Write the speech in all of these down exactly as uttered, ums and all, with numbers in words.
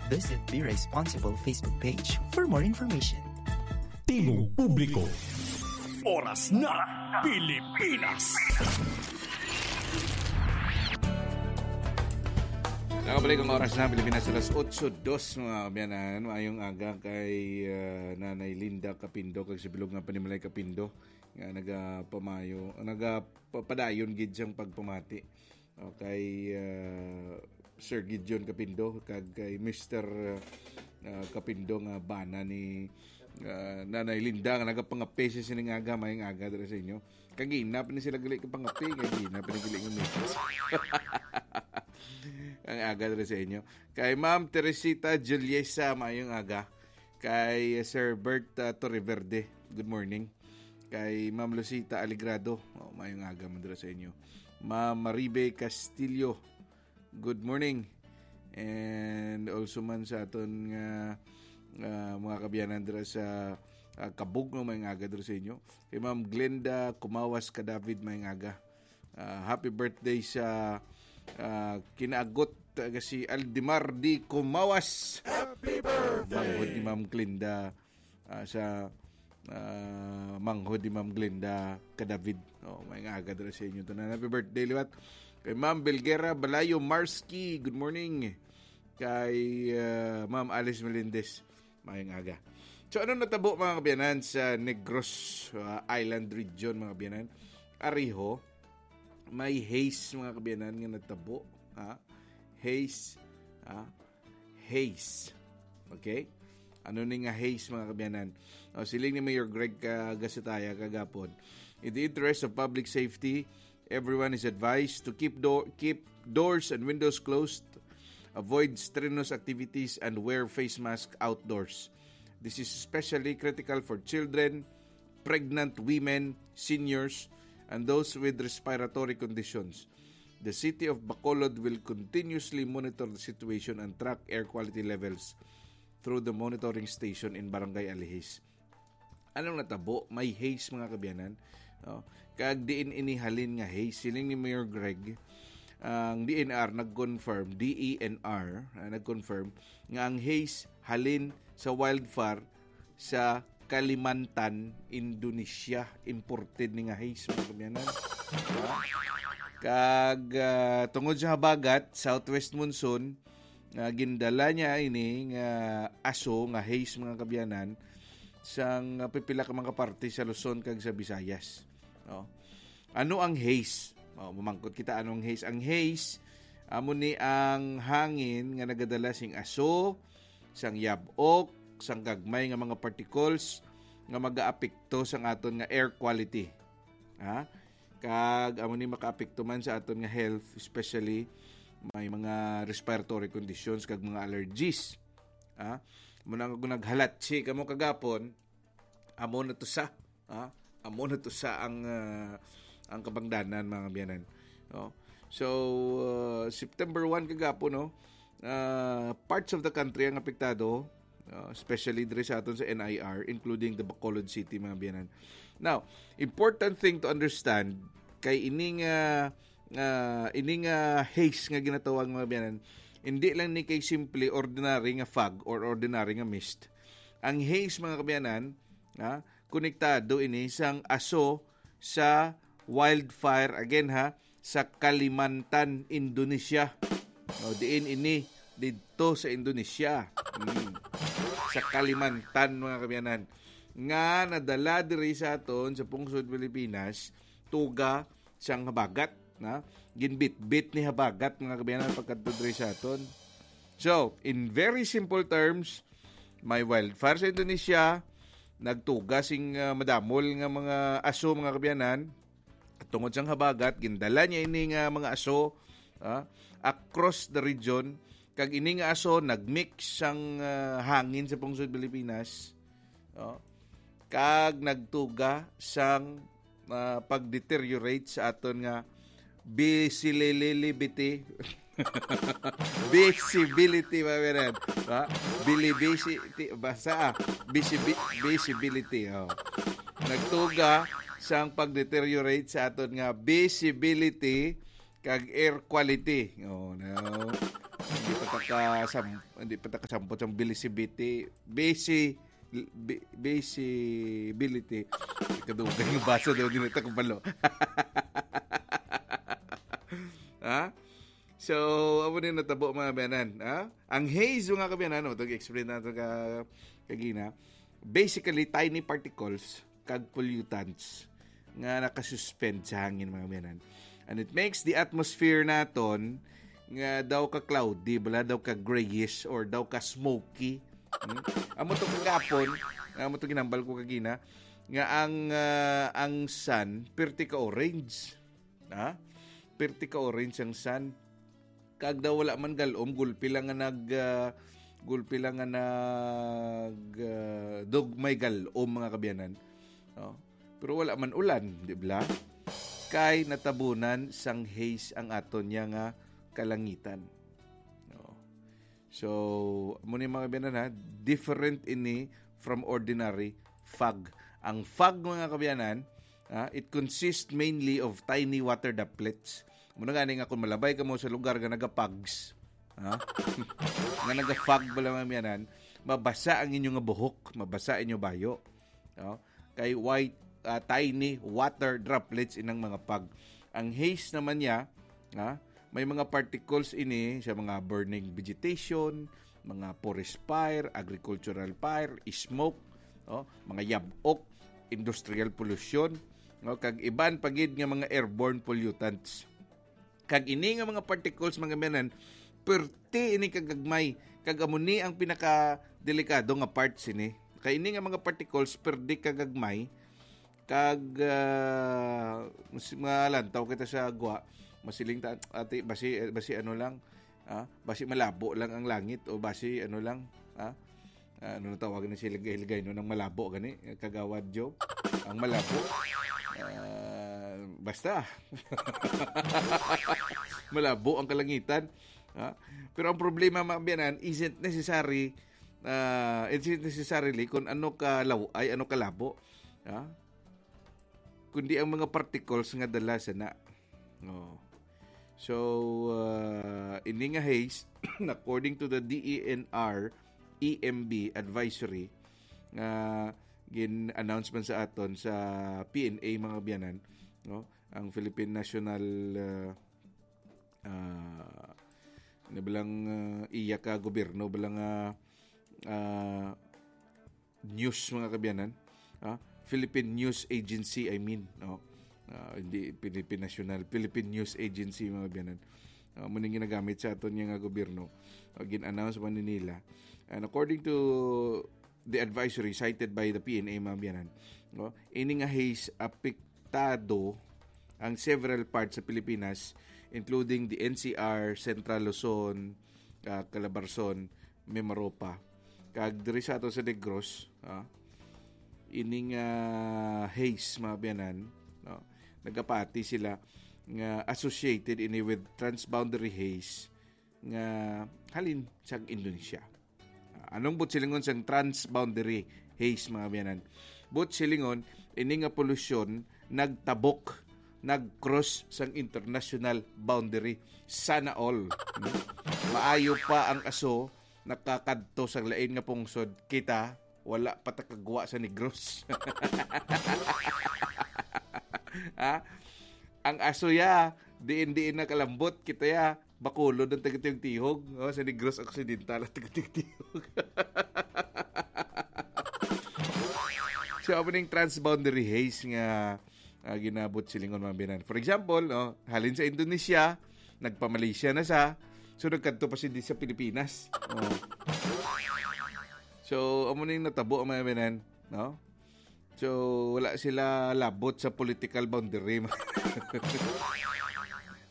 Visit Be Responsible Facebook page for more information. Tingog Publiko. Oras na, Pilipinas. Nakabalik ang oras na, Pilipinas, alas otso dos, mga kaabyanan. Maayong aga kay, ah, Nanay Linda Capindo, kag si Bilog nga Panimalay Capindo, nga nagapamayo, nagapapadayon gid siyang pagpamati. Okay, ah, Sir Gideon Capindo, kag kay Mister, ah, Capindo nga bana ni, ah, Nanay Linda, nga nagapangape sining aga, maayong aga dira sa inyo. Kagina pa ni sila gali kapangape, kagina pa ni gali nga message. Ang aga dira sa inyo. Kay Ma'am Teresita Juliesa, maayong aga. Kay Sir Bert, ah, Torreverde, good morning. Kay Ma'am Lucita Aligrado, oh, maayong aga man dira sa inyo. Ma'am Maribe Castillo, good morning. And also man sa aton nga, ah, mga kaabyanan dira sa, ah, Kabugno, maayong aga dira sa inyo. Kay Ma'am Glenda Kumawas Kadavid, maayong aga. Ah, happy birthday sa, ah, kinaagot, ah, si Aldemar D. Kumawas. Happy birthday! Manghod ni Ma'am Glenda, ah, sa, ah, manghod ni Ma'am Glenda Kadavid. Oh, maayong aga dira sa inyo tanan. Happy birthday liwat kay Ma'am Belguera Balayo Marski. Good morning. Kay, ah, Ma'am Alice Melendez, maayong aga. So, ano natabo, mga kaabyanan, sa Negros, ah, Island Region, mga kaabyanan? Ariho, may haze, mga kaabyanan, nga natabo, ha? Haze, ha? Haze. Okay? Ano ni nga haze, mga kaabyanan? O, siling ni Mayor Greg, ah, Gasitaya kagapon, "In the interest of public safety, everyone is advised to keep do-, keep doors and windows closed, avoid strenuous activities, and wear face mask outdoors. This is especially critical for children, pregnant women, seniors, and those with respiratory conditions. The City of Bacolod will continuously monitor the situation and track air quality levels through the monitoring station in Barangay Alihis." Anong natabo? May haze, mga kaabyanan. No? Kag diin ini halin nga haze? Siling ni Mayor Greg, ang D N R nag-confirm, D E N R, ah, nag-confirm nga ang haze halin sa wildfire sa Kalimantan, Indonesia. Imported ni nga haze, mga kaabyanan. Kag, ah, tungod sa habagat, southwest monsoon, nga gindala niya ini nga aso nga haze, mga kaabyanan, sang pipila ka mga parte sa Luzon kag sa Visayas. No? Ano ang haze? Oh, mamangkot kita, ano ang haze? Ang haze, amo ni ang hangin nga nagadala sing aso, sang yab-ok, sang gagmay nga mga particles nga magaapekto sang aton nga air quality. Ha? Kag amo ni makaapekto man sa aton nga health, especially may mga respiratory conditions kag mga allergies. Ha? Muna nga kung naghalatsi kamo kagapon, amo na to sa, ha? Amo na to sa ang, ah, ang kabangdanan, mga kaabyanan. No? So, ah, September one kagapon, no? Ah, parts of the country ang apektado, ah, especially diri sa aton sa N I R, including the Bacolod City, mga kaabyanan. Now, important thing to understand, kay ining, ah, ah, ining, ah, haze nga ginatawag, mga kaabyanan, hindi lang ni kay simple ordinary nga fog or ordinary nga mist. Ang haze, mga kaabyanan, ha, konektado ini sang aso sa wildfire, again, ha, sa Kalimantan, Indonesia. No, diin ini didto sa Indonesia. Hmm. Sa Kalimantan, mga kaabyanan, nga nadala diri sa aton sa pungsod Pilipinas, tuga sang habagat, na ginbitbit ni habagat, mga kaabyanan, pagkadto diri sa aton. So, in very simple terms, may wildfire sa Indonesia, nagtuga sing, ah, madamol nga mga aso, mga kaabyanan, tungod sang habagat, gindala niya ini nga mga aso, ah, across the region, kag ini nga aso nagmix sang, ah, hangin sa pungsod Pilipinas, oh, kag nagtuga sang, ah, pag-deteriorate sa aton nga bisilililibiti. Visibility, mga kaabyanan. Ha? Bilibisi, ti-, basta, ah, bisibi-, visibility, oh. Nagtuga sang pag-deteriorate sa aton nga visibility kag air quality. Oh, no. Hindi pa ta ka sam-, hindi pa ta kasampot sang bilisibiti. Bisi, bi-, bisibility. Kadugay nga basa daw din ito kabalo. Ha? So, amo ni natabo, mga kabiyanan, ha? Ang haze, mga kabiyanan, no, itong explain nato ka, kagina, basically, tiny particles kag pollutants nga nakasuspend sa hangin, mga kabiyanan. And it makes the atmosphere naton nga daw ka cloudy, bala daw ka grayish or daw ka smoky. Hmm? Amo to kagapon, amo to ginambal ko kagina, nga ang, ah, ang sun, pirti ka orange. Ha? Pirti ka orange ang sun. Kag daw wala man galom, gulpi lang nga nag, ah, gulpi lang nga nag, ah, dugmay galom, mga kabiyanan. No? Pero wala man ulan, di ba? Kay natabunan sang haze ang aton niya nga kalangitan. No? So, amo ni, mga kabiyanan, ha, different ini from ordinary fog. Ang fog, mga kabiyanan, ah, it consists mainly of tiny water droplets. Muna gani nga kung malabay ka mo sa lugar nga nagapags, ha? Nga nagafog bala, mga kabiyanan, mabasa ang inyo nga buhok, mabasa inyo bayo. No? Kay white, ah, tiny water droplets inang mga fog. Ang haze naman niya, ha? May mga particles ini sa mga burning vegetation, mga forest fire, agricultural fire, smoke, no? Mga yab-ok, industrial pollution, no? Kag iban pa gid nga mga airborne pollutants. Kag ini nga mga particles, mga kabiyanan, perti ini kagagmay. Kag amo ni ang pinaka delikado nga part sini. Kay ini nga mga particles, perti kagagmay. Kag, ah, mas, malantaw kita sa gwa, masiling ta, ati, basi, basi ano lang, ah, basi malabo lang ang langit o basi ano lang, ah, ah, ano na tawagan na sila, Ilgay, no, ng malabo gani, Kagawad Joe? Ang malabo. Ah, basta. Malabo ang kalangitan. Ah, pero ang problema, mga kabiyanan, isn't necessary, ah, isn't necessarily kung ano ka law-, ay, ano kalabo. Ah? Kundi ang mga particles nga dala sa na. Oh. So, ah, ini nga haze, according to the D E N R E M B advisory, nga gin-announce man sa aton sa P N A, mga kabiyanan, no? Ang Philippine National, ah, ah, ano ba lang, ah, iya ka gobyerno ba lang, ah, ah, news, mga kabiyanan. Ah, Philippine News Agency, I mean, no? Ah, hindi Philippine National, Philippine News Agency, mga kabiyanan. Ah, mao ning ginagamit sa aton nga gobyerno. Ah, gin-announce man ni nila. And according to the advisory cited by the P N A, mga kabiyanan, no? Ini nga haze apektado ang several parts sa Pilipinas, including the N C R, Central Luzon, ah, Calabarzon, Mimaropa. Kag diri sa ato sa Negros, ah, ining, ah, haze, mga kabiyanan, no? Nagapati sila nga associated ini with transboundary haze nga halin sa Indonesia. Ah, anong buot silingon sang transboundary haze, mga kabiyanan? Buot silingon, ini nga polusyon nagtabok, nag-cross sang international boundary. Sana all. Hmm? Maayo pa ang aso nakakadto sa lain nga pungsod, kita wala pa ta kagwa sa Negros. Ha? Ang aso ya, diin-diin na kalambot, kita ya, Bacolod ang taga-tiyog-tiyog, oh, sa Negros Occidental ang taga-tiyog-tiyog. So, amo ning transboundary haze nga, ah, ginabuot silingon, mga kabiyanan. For example, oh, halin sa Indonesia, nagpa-Malaysia na sa, so nagkadto pa sila sa Pilipinas. Oh. So, amo ning natabo, mga kabiyanan, no? So, wala sila labot sa political boundary.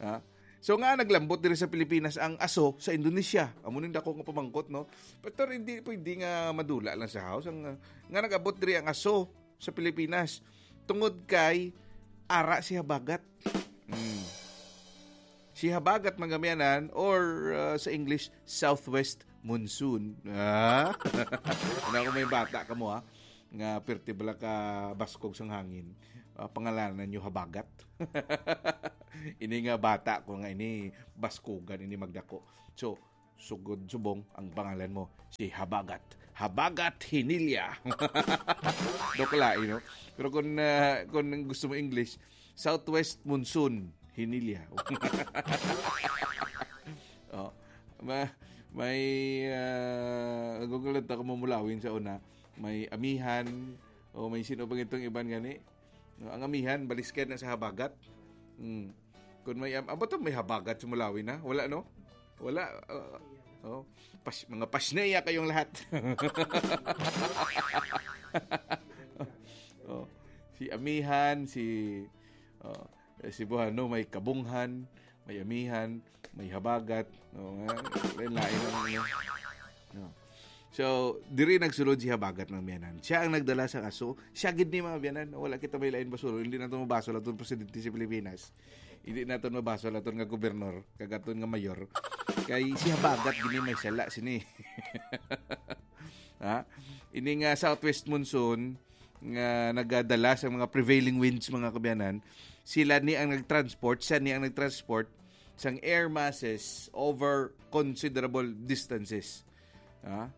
Ha? So, nga naglambot diri sa Pilipinas ang aso sa Indonesia? Amo ning dako nga pamangkot, no? Pero hindi pwede nga madula lang sa house. Ang, nga nag-abot diri ang aso sa Pilipinas tungod kay ara si habagat. Hmm. Si habagat, mga kabiyanan, or, uh, sa English, southwest monsoon. Ah? Ano, kung may bata ka mo, ha? Nga pirti bala ka baskog sang hangin. Ah, pangalanan nyo habagat. Ini nga bata ko nga ini, baskogan, ini magdako. So, sugod subong ang pangalan mo, si Habagat. Habagat Hinilya. Daw kalain, no? Pero kung, ah, kung gusto mo English, Southwest Monsoon Hinilya. Oh, ma-, may, ah, Google lang ta kung mamulawin sa una. May amihan, o may sino pa itong iban gani. No, ang amihan, baliskad na sa habagat. Hmm. Kung may am-, abo to, may habagat sa Mulawi na? Wala, no? Wala. Uh, oh. Pas-, mga pasneya kayong lahat. Oh. Si amihan, si, oh, eh, si Buhano, may kabunghan, may amihan, may habagat. No, nga, lain-lain ang ano. No. So, diri nagsulod si Habagat, mga biyanan. Siya ang nagdala sa kaso. Siya gid ni, mga biyanan. Wala kita may lain basol. Hindi nato mabasol aton presidente sa Pilipinas. Hindi nato mabasol aton nga gobernador, kag aton nga mayor. Kay si Habagat gid ni may sala sini. Ha? Ini nga southwest monsoon nga nagadala sa mga prevailing winds, mga kabiyanan, sila ni ang nagtransport, siya ni ang nagtransport sang air masses over considerable distances. Ha?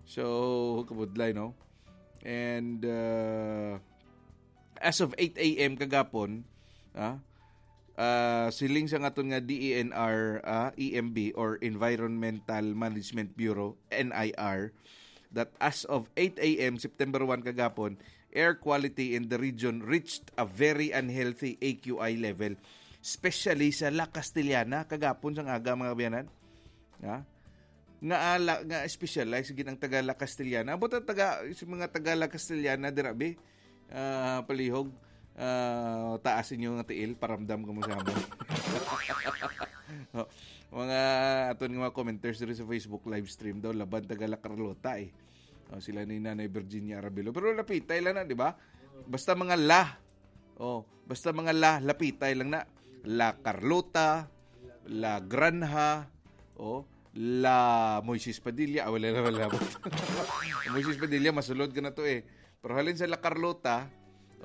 So, kabudlay, no? And, uh, as of eight a m kagapon, ah, ah, siling sa aton nga D E N R, ah, E M B or Environmental Management Bureau, N I R, that as of eight a m September one kagapon, air quality in the region reached a very unhealthy A Q I level, especially sa La Castellana kagapon sang aga, mga biyanan. Ha? Nga ala, nga specialize gid ang taga La Castellana. Amo ta taga, sa mga taga La Castellana dira, bi, ah, palihog, ah, taas inyo nga tiil, paramdam ko mo sa amon. Oh, mga aton nga mga commenters diri sa Facebook live stream daw, laban taga La Carlota, eh. Oh, sila ni Nanay Virginia Arabilo. Pero lapitay lang na, di ba? Basta mga La. Oh, basta mga La, lapitay lang na. La Carlota, La Granja, oh, La Moises Padilla. Ah, wala na, wala. Moises Padilla, masulod ka na to, eh. Pero halin sa La Carlota,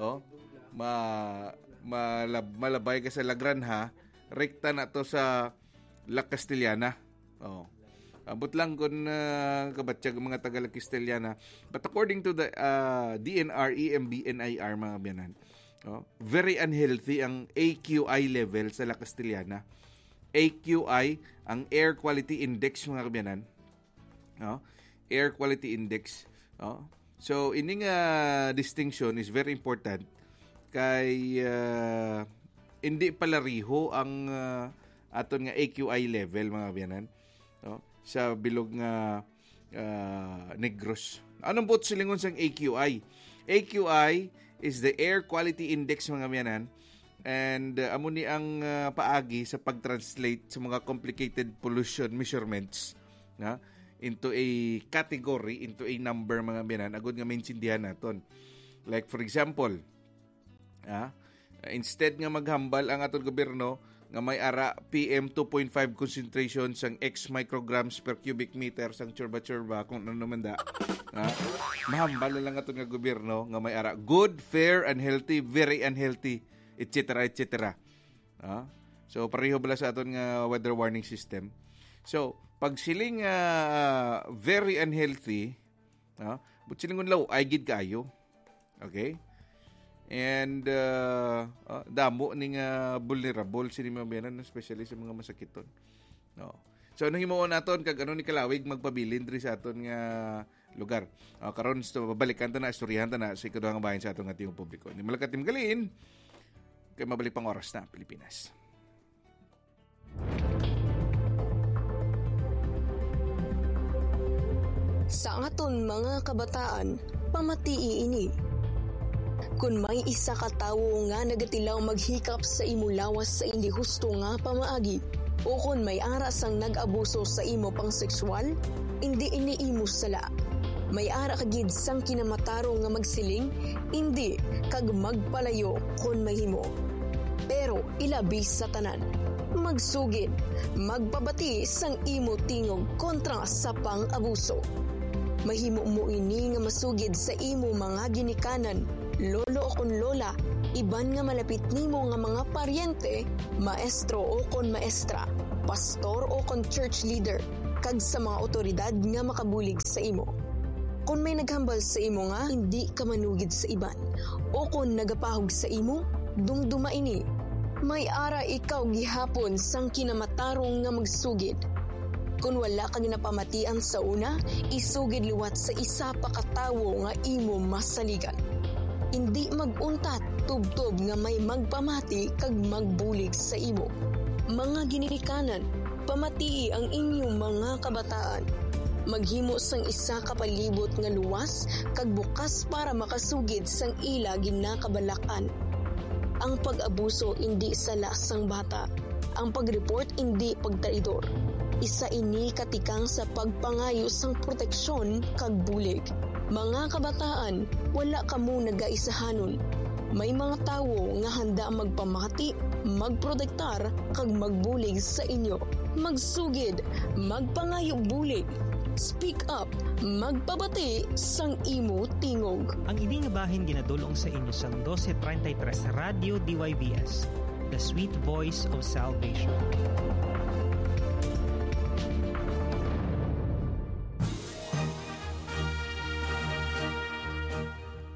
oh, ma-, malab-, malabay ka sa La Granja, rekta na to sa La Castellana. Oh. Abot lang kung, ah, kabatyag ang mga taga La Castellana. But according to the, ah, D N R, E M B, N I R, mga biyanan, oh, very unhealthy ang A Q I level sa La Castellana. A Q I, ang Air Quality Index, mga kabiyanan. No? Air Quality Index. Oh. So, ini nga distinction is very important kay, ah, hindi palariho ang, ah, aton nga A Q I level, mga kabiyanan, no? Sa bilog nga, ah, Negros. Anong buot silingon sang A Q I? A Q I is the Air Quality Index, mga kabiyanan, and, ah, amo ni ang, ah, paagi sa pag-translate sa mga complicated pollution measurements, na, into a category, into a number, mga kabiyanan, agud nga maintindihan naton. Like, for example, ah, instead nga maghambal ang aton gobyerno nga may ara P M two point five concentration sang X micrograms per cubic meter sang tsurba-tsurba, kung ano man da, ah, mahambal na lang aton nga gobyerno nga may ara good, fair, unhealthy, very unhealthy, et cetera, et cetera. Ah? So, pareho bala sa aton nga weather warning system. So, pag siling, ah, very unhealthy, ah, but silingon law, ay gid kaayo. Okay? And, ah, ah, damo ni nga vulnerable sini mga biyanan, especially sa mga masakiton. No. So, anong himuon naton kag ano ni kalawig magpabilin diri sa aton nga lugar? Ah, karon, so, babalikan ta na, istoryahan ta na sa ikaduha nga bahin sa aton nga tingog publiko. Ni Malakat Timgalin, kay mabalik pang oras na, Pilipinas. Sa aton mga kabataan, pamatii ini. Kon may isa ka tawo nga nagatilaw maghikap sa imo lawas sa indi husto nga pamaagi, o kon may ara sang nag-abuso sa imo pang sexual, indi ini imo sala. May ara ka gid sang kinamatarong nga magsiling, indi, kag magpalayo kon mahimo. Pero ilabi sa tanan, magsugid, magpabati sang imo tingog kontra sa pang-abuso. Mahimo mo ini nga masugid sa imo mga ginikanan, lolo o kon lola, iban nga malapit nimo nga mga paryente, maestro o kon maestra, pastor o kon church leader, kag sa mga awtoridad nga makabulig sa imo. Kon may naghambal sa imo nga indi ka manugid sa iban, o kon nagapahog sa imo, dumduma ini. May ara ikaw gihapon sang kinamatarong nga magsugid. Kon wala ka ginapamatian sa una, isugid liwat sa isa pa ka tawo nga imo masaligan. Indi mag-untat tubtob nga may magpamati kag magbulig sa imo. Mga ginikanan, pamatii ang inyong mga kabataan. Maghimo sang isa ka palibot nga luwas kag bukas para makasugid sang ila ginakabalak-an. Ang pag-abuso indi sala sang bata. Ang pag-report indi pagtraidor. Isa ini ka tikang sa pagpangayo sang proteksyon kag bulig. Mga kabataan, wala kamo nagaisahanon. May mga tawo nga handa magpamati, magprotektar, kag magbulig sa inyo. Magsugid, magpangayo bulig. Speak up, magpabati sang imo tingog. Ang ini nga bahin ginadul-ong sa inyo sang dose treinta y tres Radyo D Y V S, the sweet voice of salvation.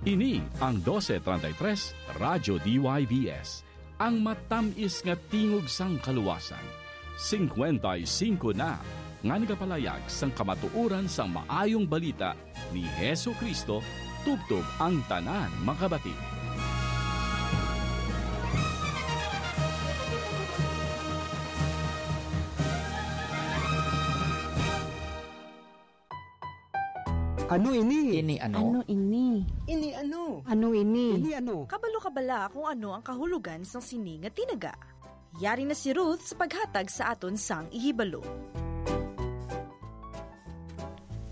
Ini ang dose treinta y tres Radyo D Y V S, ang matamis nga tingog sang kaluwasan. Singkwenta y singko na nga nagapalayag sang kamatuoran sang Maayong Balita ni Jesu-Cristo tubtob ang tanan makabati. Ano ini? Ini ano? Ano ini? Ini ano? Ano ini? Ini ano? Kabalo ka bala kung ano ang kahulogan sang sini nga tinaga? Yari na si Ruth sa paghatag sa aton sang ihibalo.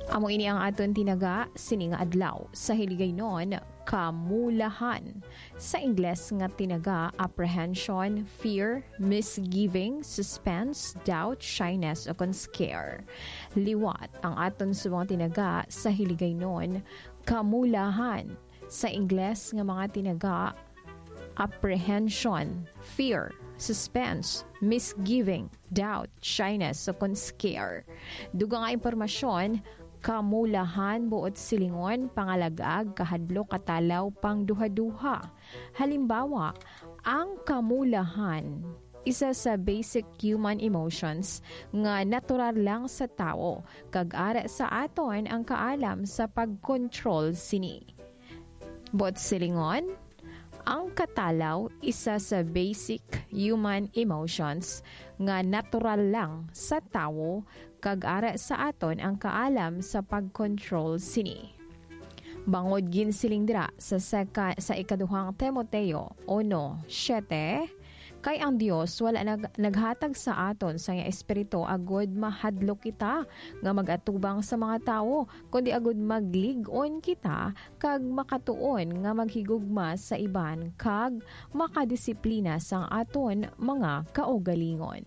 Amo ini ang aton tinaga sini nga adlaw. Sa Hiligaynon, kamulahan. Sa Ingles nga tinaga, apprehension, fear, misgiving, suspense, doubt, shyness, o kon scare. Liwat ang aton subong tinaga sa Hiligaynon, kamulahan. Sa Ingles nga mga tinaga, apprehension, fear, suspense, misgiving, doubt, shyness, o kon scare. Dugang nga impormasyon, kamulahan, buot silingon, pangalag-ag, kahadlok, katalaw, pangduhaduha. Halimbawa, ang kamulahan, isa sa basic human emotions nga natural lang sa tawo, kag ara sa aton ang kaalam sa pag-control sini. Buot silingon, ang katalaw isa sa basic human emotions nga natural lang sa tawo, kag ara sa aton ang kaalam sa pag-control sini. Bangod ginsiling dira sa seka-, sa ikaduhang Timoteo uno siete, kay ang Dios wala nag-, naghatag sa aton sa iya Espiritu agud mahadlok kita nga mag-atubang sa mga tawo, kundi agud maglig-on kita kag makatuon nga maghigugma sa iban kag makadisiplina sang aton mga kaugalingon.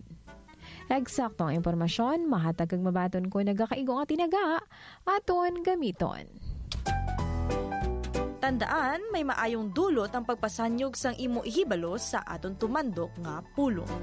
Eksakto ang impormasyon, mahatag kag mabaton ko nagakaigo nga tinaga, aton gamiton. Tandaan, may maayong dulot ang pagpasanyog sang imo ihibalo sa aton tumandok nga pulong.